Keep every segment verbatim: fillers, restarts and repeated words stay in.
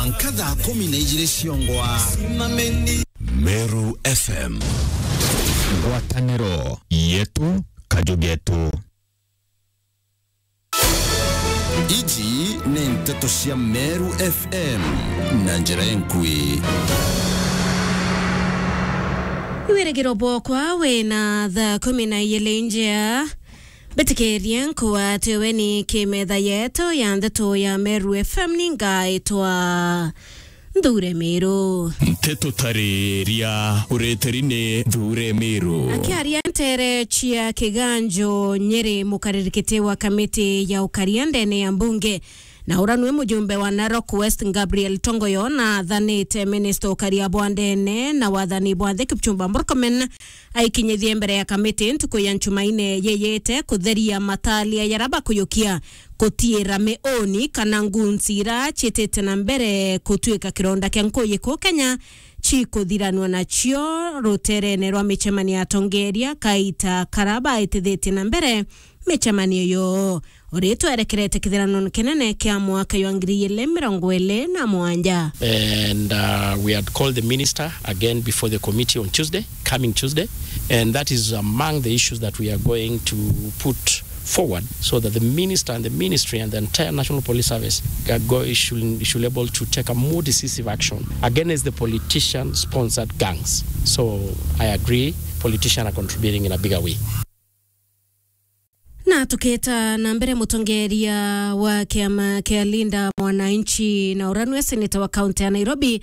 Mwanka thaa kumi na ijiri ciongwa. Meru F M. Ngwataniro yetu, kaju getu. Iji ni nteto cia Meru F M na njira enkui. Wirigiro bwokwa wina thaa kumi na ijiri njea. Mbitikirie nkugwate weni kimetha yetu ya ndeto ya Meru F M, ni ngaitwa Nthure Miru. Nteto tariria ureteri ni Nthure Miru. Akiaria ntere cia Kiganjo Nyeri, mukaririkite wa kamiti ya ukaria ndene ya mbunge na ura nwe mujumbe wa Narok West Gabriel Tongoyo na athanite minista ukaria bwa ndene na wathani bwa nthi Kipchumba Murkomen aikinyithie mbere ya kamiti ntuku ya Nchumaine yeyete kutheria matalia yara bakuyukia kutiira miuni kana ngunsi ira ciitite na mbere kutuika kironda kia nkuyi kuu Kenya cikuthiranua nacio ruterene rwa micemanio ya atongeria kaita kara baitithitie na mbere micemanio yo. Uri twerekerete kithiranone kinene kia mwaka jwa ngiri ijiri mirongo iri na mugwanja. And uh, we had called the minister again before the committee on Tuesday, coming Tuesday, and that is among the issues that we are going to put forward so that the minister and the ministry and the entire National Police Service are go, should, should able to take a more decisive action against the politician-sponsored gangs. So I agree, politicians are contributing in a bigger way. Na tukita na mbere, mutongeria wa kiama kia Linda Mwananchi na ura nwe seneta wa kaunti ya Nairobi,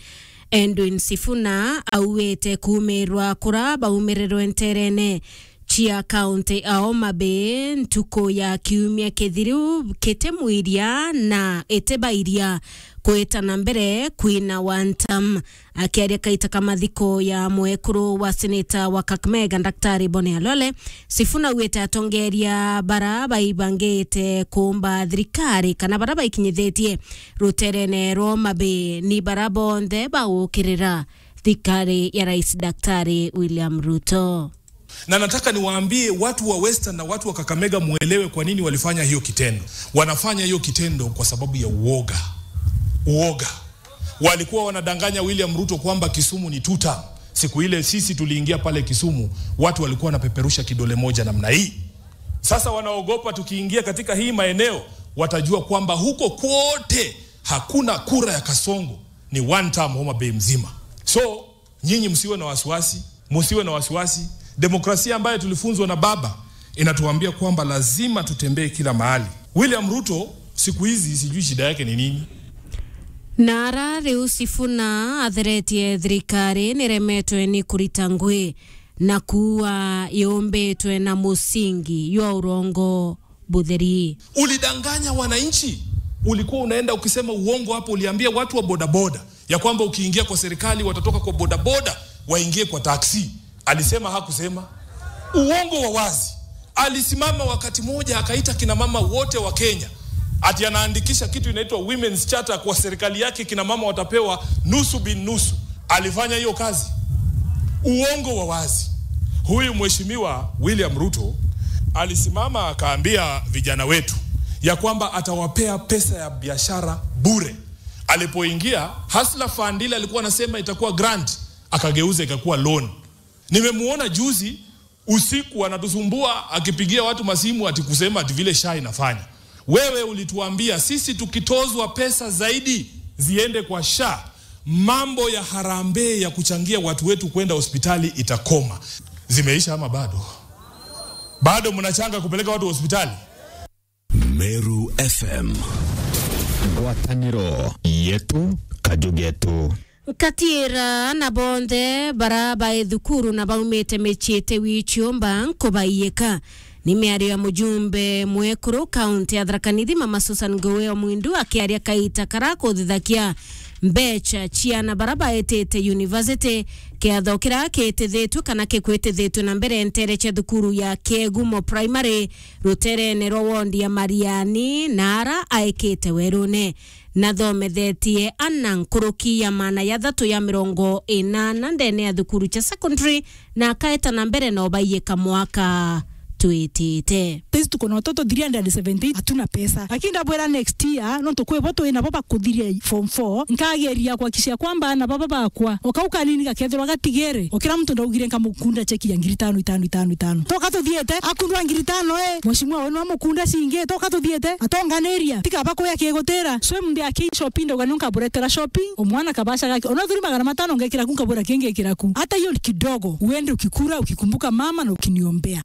Edwin Sifuna, auite kuumirwa kura baumirirwe nterene cia kaunti ya Homa Bay ntuku ya kiumia kithiru kitimwiria na itibairia kwita na mbere kwina one term. Akiaria kaita ka mathiko ya mwekuru wa seneta wa Kakamega, Daktari Boni Alole, Sifuna augite atongeria bara baibangite kuumba thirikari kana bara baikinyithitie ruterene rwa Homa Bay ni bara bonthe bagukirira thirikari ya Rais Daktari William Ruto. Na nataka niwaambie watu wa Western na watu wa Kakamega, muelewe kwa nini walifanya hiyo kitendo. Wanafanya hiyo kitendo kwa sababu ya uoga. Uoga. Walikuwa wanadanganya William Ruto kwamba Kisumu ni two term. Siku ile sisi tuliingia pale Kisumu, watu walikuwa wanapeperusha kidole moja namna hii. Sasa wanaogopa tukiingia katika hii maeneo, watajua kwamba huko kwote hakuna kura ya Kasongo, ni one term Homa Bay mzima. So, nyinyi msiwe na wasiwasi, msiwe na wasiwasi. Demokrasia ambayo tulifunzwa na baba inatuambia kwamba lazima tutembee kila mahali. William Ruto siku hizi sijui shida yake ni nini. Nara riu Sifuna atheretie thirikari niremetwe ni kurita ngui na kuua yumbitwe na musingi jwa urongo butheri. Ulidanganya wananchi, ulikuwa unaenda ukisema uongo hapo, uliambia watu wa bodaboda ya kwamba ukiingia kwa serikali watatoka kwa bodaboda waingie kwa taxi. Alisema, hakusema? Uongo wa wazi. Alisimama wakati moja akaita kina mama wote wa Kenya ati anaandikisha kitu inaitwa Women's Charter kwa serikali yake, kina mama watapewa nusu bin nusu. Alifanya hiyo kazi? Uongo wa wazi. Huyu mheshimiwa William Ruto alisimama akaambia vijana wetu ya kwamba atawapea pesa ya biashara bure. Alipoingia, Hustler Fund ile alikuwa anasema itakuwa grant, akageuza ikakuwa loan. Nimemuona juzi usiku anatusumbua akipigia watu masimu ati kusema ati vile SHA inafanya. Wewe ulituambia sisi tukitozwa pesa zaidi ziende kwa SHA, mambo ya harambee ya kuchangia watu wetu kwenda hospitali itakoma. Zimeisha ama bado? Bado mnachanga kupeleka watu hospitali? Meru F M. Ngwataniro yetu, kaju getu. Nkatiira na bonthe bara bae thukuru na baumite micii iti wi ciumba nkubaiika. Ni miario ya mujumbe mwekuru kaunti ya Tharaka Nithi, Mama Susan Ngugi wa Mwindu, akiaria kaita kara kuthithakia mbecha ciana bara baetite university. Kiatho kira kitithitwe kana kikwitithitwe na mbere ntere cia thukuru ya Kiegumo Primary, ruterene rwa wondi ya Mariani, na ara aekite werune. Nathomethetie ana nkuruki ya maana ya thatu ya mirongo inana ndene ya thukuru cia secondary, na akaeta na mbere na ubaiika mwaka twitite. Sisi tuko na watoto three hundred seventy, hatuna pesa. Lakini ndabwira next year, nontu kwi bo twi nabo bakuthiria form four, nkageria kuhakikisha kwamba aana baba bakwa, o kau kanini gakethirwa gatigere, o kira muntu ndaugire nkamukunda cheki ya ngiri tano, itano, itano, itano. Toka tuthiete, akundwa ngiri tano, eh, mheshimiwa wenu amukunda cingi, toka tuthiete, atonganiria, tikaba kuya kigutira. So, mbe aki shopping, ndauga nunkaburetera shopping, o mwana kabaca gake, ona thuri magana matano ngekira ku, nkabura kingi ngekira ku. Hata hiyo kidogo, uende ukikura, ukikumbuka mama na ukiniombea.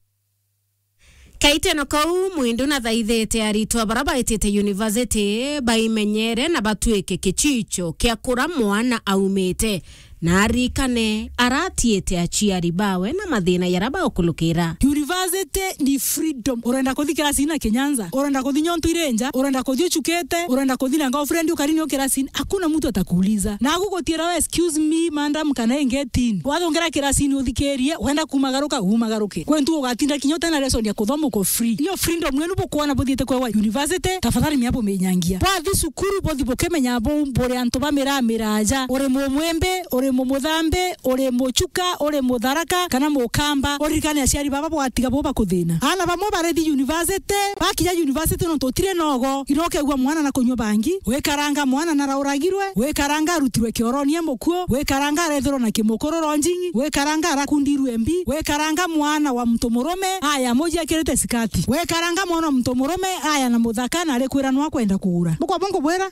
Kaiteno kau, Mwindu nathaithite aritwa bara baitite university baimenyere na batwike kichicho kia kura mwana aumite, na arikane aratiite aciari bawe na mathina yara baukulukira. University ni freedom. Urenda kuthi kirasini na kinyanza, urenda kuthi nyontu iri nja, urenda kuthi uchukite, urenda kuthi na girlfriend ukarini o kirasini, hakuna mtu atakuuliza. Na agugutiira we, "Excuse me, madam, can I get in?" Wathungira kirasini uthikirie, wenda kumagaruka, umagaruke. Kwentu ugatinda kinya utena lesson ya kuthoma, uko free. Iyo freedom yenu bukwona buthiite kwewa university, tafadhali mia buminyangia. Bwathi cukuru, buthi bukimenya bu buri antu ba miraa miraaja. Uri mumwimbi, uri mumuthambi, uri muchuka, uri mutharaka, kana mukamba. Uririkane aciari baba bwatiga bo bakuthina. Aana bamwe barithi university, bakinya university nontu utiri nogo, ino ukegua mwana na kunywa bangi, wikaranga mwana na rauragirwe, wikaranga arutirwe kioroni e mukuo, wikaranga arethirwa na kimukuru ronjingi, wikaranga arakundirwe mbi, wikaranga mwana wa muntu murume, aya muji akirite sikati, wikaranga mwana wa muntu murume, aya na muthaka na arikwira nwa kwenda kugura. Bukwa bungu bwira.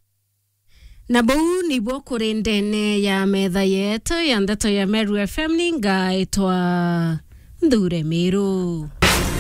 Na buu nibuo kuri ndene ya metha yetu ya ndeto ya Meru F M, ni ngaitwa Nthure Miru.